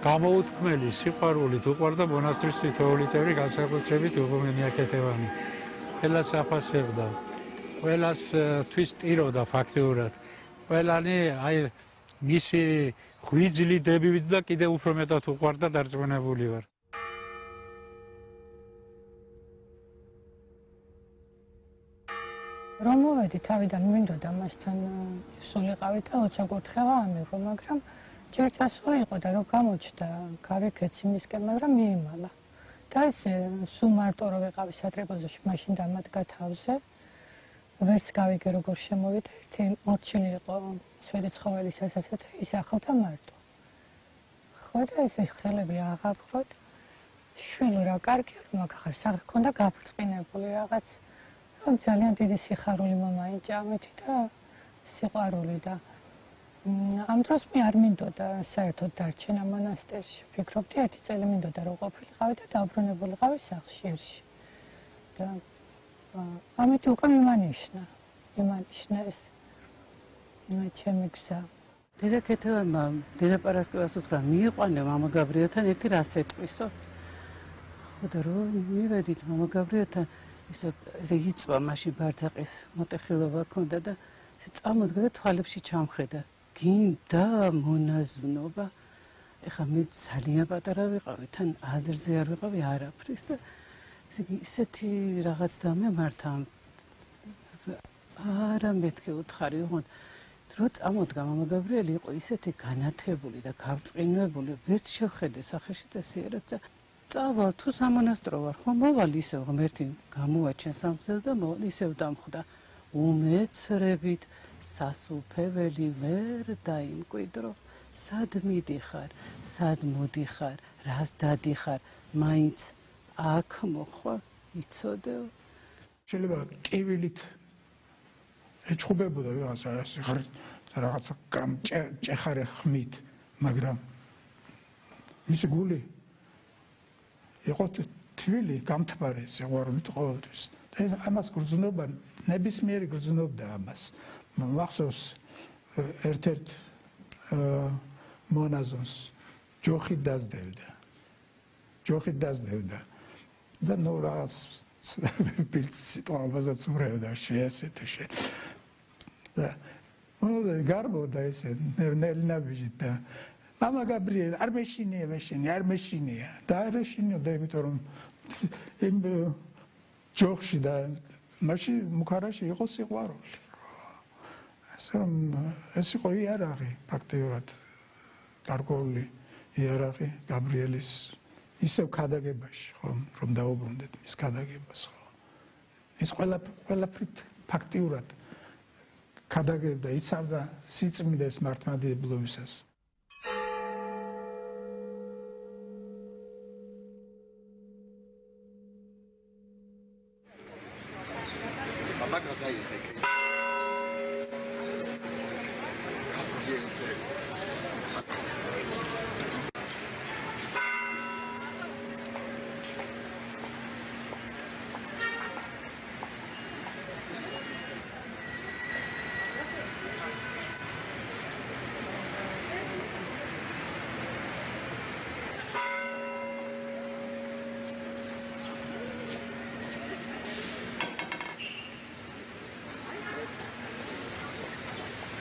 გამოუთქმელი სიყვარულით უყვარდა მონასტრის თითოეული წევრი, განსაკუთრებით უღმენი აკეთებანი. ყველას აფასებდა, ყველას თვისტიროდა ფაქტიურად. ყველანი აი მისი ღვიძლი დებივით და კიდევ უფრო მეტად უყვარდა, დარწმუნებული ვარ. რომ მოვედი თავიდან მინდოდა მასთან სულიყავით და 20 კურთხევა ამიღო, მაგრამ ჯერ წასული იყო და რომ გამოჩნდა გავიქეცი მისკენ, მაგრამ მიიმალა. და ესე სულ მარტო რომ ვიყავი სატრაპეზოში, მაშინ დამადგა თავზე. ვერც გავიგე როგორ შემოვიდა, ერთი მორჩილი იყო შვედი ცხოველის ასასა და ის ახლდა მარტო. ხო და ესე ხელები აღაფროთ. შვილო რა კარგია რომ აქ ხარ, სახე ქონდა გაბრწყინებული რაღაც. ძალიან დიდი სიხარული მომაინჭა ამით და სიყვარული და ამ დროს მე არ მინდოდა საერთოდ დარჩენა მონასტერში. ვფიქრობდი ერთი წელი მინდოდა რომ ყოფილიყავი და დაუბრუნებულიყავი სახლში ერში. და ამით უკვე მიმანიშნა ეს ჩემი გზა. დედა ქეთევანმა დედა პარასკევას უთხრა მიიყვანე მამა გაბრიელთან ერთი რას ეტყვისო. ხო და რომ მივედით მამა გაბრიელთან ესე იწვა მაშინ ბარძაყის მოტეხილობა ქონდა და წამოდგა და თვალებში ჩამხედა. გინდა მონაზვნობა. ეხლა მე ძალიან პატარა ვიყავი, თან აზრზე არ ვიყავი არაფრის და ისეთი რაღაც დამემართა. არა მეთქე უთხარი, ოღონდ რო წამოდგა მამა გაბრიელი იყო ისეთი განათებული და გავწყინვებული, ვერც შევხედე სახეში წესიერად და წავალ თუ სამონასტრო ვარ, ხო მოვალ ისევ ღმერთი გამოვაჩენ სამგზელს და მოვალ ისევ დამხვდა. უმეცრებით სასუფეველი ვერ დაიმკვიდრო. სად მიდიხარ, სად მოდიხარ, რას დადიხარ, მაინც აქ მოხვალ, იცოდეო. შეიძლება კივილით ეჩხუბებოდა რაღაცა ჭეხარე ხმით, მაგრამ მისი გული იყო თბილი, გამთბარი სიყვარულით ყოველთვის. და ამას გრძნობა, ნებისმიერი გრძნობდა ამას. მახსოვს ერთ-ერთ მონაზონს ჯოხით დაძდევდა. და ნუ რაღაც ბილწ სიტყვაობასაც ურევდა შეასეთ. და გარბოდა ესე ნელნაბიჯით და მამა გაბრიელ არ მეშინია და არ ეშინიოდა, იმიტომ რომ იმ ჯოხში და მაშინ მუქარაში იყო სიყვარული. ასე რომ ეს იყო იარაღი ფაქტიურად გარკვეული იარაღი გაბრიელის ისევ ქადაგებაში, ხო, რომ დაუბრუნდეთ მის ქადაგებას, ხო. ის ყველაფრით ფაქტიურად ქადაგებდა, იცავდა სიწმინდეს მართლმადიდებლობისას.